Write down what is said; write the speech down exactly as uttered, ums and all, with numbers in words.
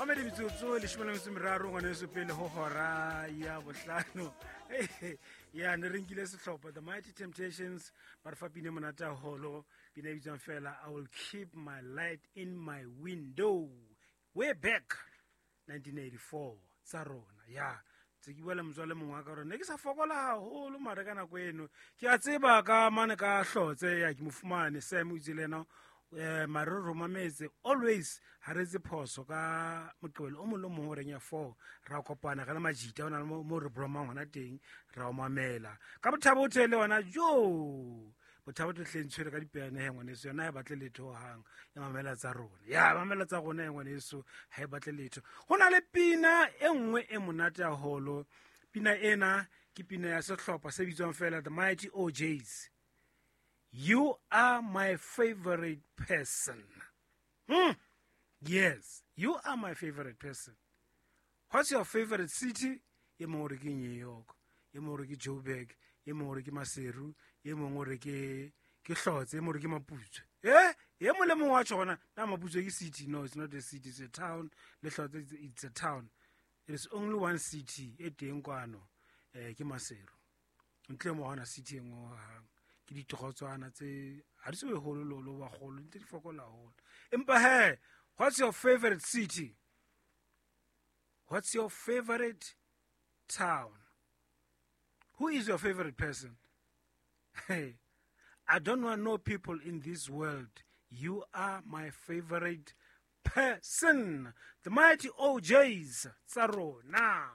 Mamedi metsotso leshome le metso e meraro ngwaneso pele ho hora ya bohlano. Ya ne re nkile sehlopha The Mighty Temptations ba re fa pina e monate haholo, pina e bitswang fela I Will Keep My Light in My Window. Way back nineteen eighty-four tsa rona. Ya tse ke bua le motswalle mongwe wa ka gore ne ke sa fokola haholo mare ka nako eno ke a tseba ka mane ka hlotse ya ke mo fumane Sam o itse le yena eh mare re romametse always ha re etse phoso ka Moqebelo o mong le o mong horeng ya four ra kopana re le majita ho na le mo re bromang hona teng ra o mamela ka Bothabo o le yona jo Bothabo o hle ntshwere ka dipeane he ngwaneso yona ha e batle letho hohang e mamela tsa rona ya mamela tsa rona he ngwaneso ha e batle letho. Ho na le pina e nngwe e monate haholo, pina ena ke pina ya sehlopha se bitswang fela The Mighty O Js. You are my favorite person. Hmm. Yes, you are my favorite person. What's your favorite city? E mongwe o re ke New York, e mongwe o re ke Joburg, e mongwe o re ke Maseru, e mongwe o re ke ke Hlotse, e mongwe o re ke Maputswe. Eh, e mong le mongwe wa tjho hona, na Maputswe ke city? No, it's not a city, it's a town. Le Hlotse, it's, it's a town. It is only one city e teng kwano, eh ke Maseru. Ntle mo hona city e nngwe hohang. Ke ditorotswana tse ha di so be holo lo lo ba kgolo, ntse di fokola haholo. Empa he, what's your favorite city? What's your favorite town? Who is your favorite person? Hey, I don't want no people in this world. You are my favorite person. The Mighty O Js tsa rona.